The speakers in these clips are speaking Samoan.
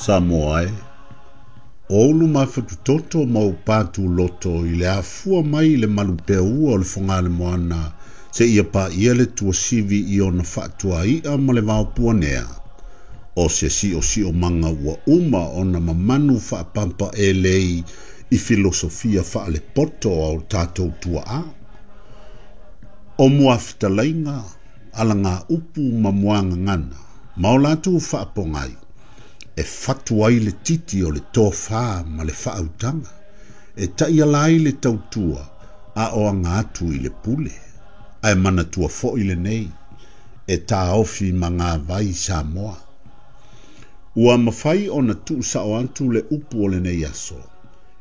Samoa e, o ou luma fatutoto ma ou patuloto i le afua mai i le malupeaua o le Fogaalemoana seia paia le tuasivi i ona faatuai'a ma le vaopuanea, o se siosiomaga ua uma ona mamanu faapapaelei i filosofia faalepoto a o tatou tuaa. O muafetalaiga, alagaupu ma muagagana, ma o latou faapogai, e fatu ai le titi o le tofā ma le faautaga, e taiala ai le tautua a o aga atu i le pule. Ae manatua foi lenei, e taofi magavai Samoa. Ua mafai ona tuusao atu le upu o lenei aso,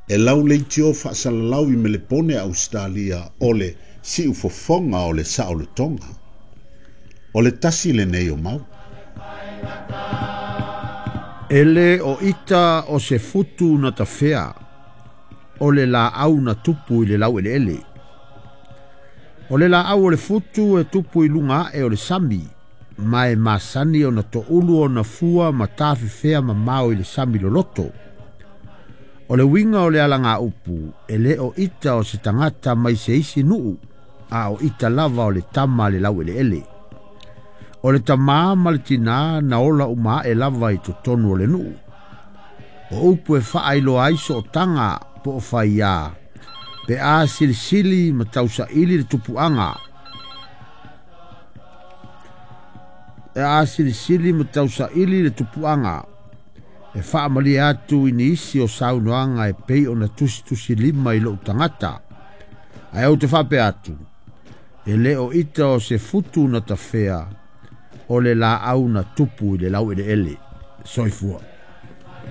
e lauleitio faasalalau i Melepone Ausetalia o le siufofoga o le saolotoga. O le tasi lenei o mau. E lē o ita o se futu na tafea, o le laau na tupu i le laueleele. O le laau o le futu e tupu i luga ae o le sami, ma e masani ona toulu ona fua ma tafefea mamao i le sami loloto. O le uiga o le alagaupu, e lē o ita o se tagata mai se isi nuu, a o ita lava o le tama a le laueleele. O le tamā ma le tinā na ola uma ae lava i totonu o le nuu. O upu e faailoa ai sootaga po o faiā, pe a silisili ma tausaili le tupuaga. E a silisili ma tausaili le tupuaga, e faamalie atu i nisi o saunoaga e pei ona tusitusilima i lou tagata. Ae ou te faapea atu, e lē o ita o se futu na tafea, o le laau na tupu i le laueleele. Soifua.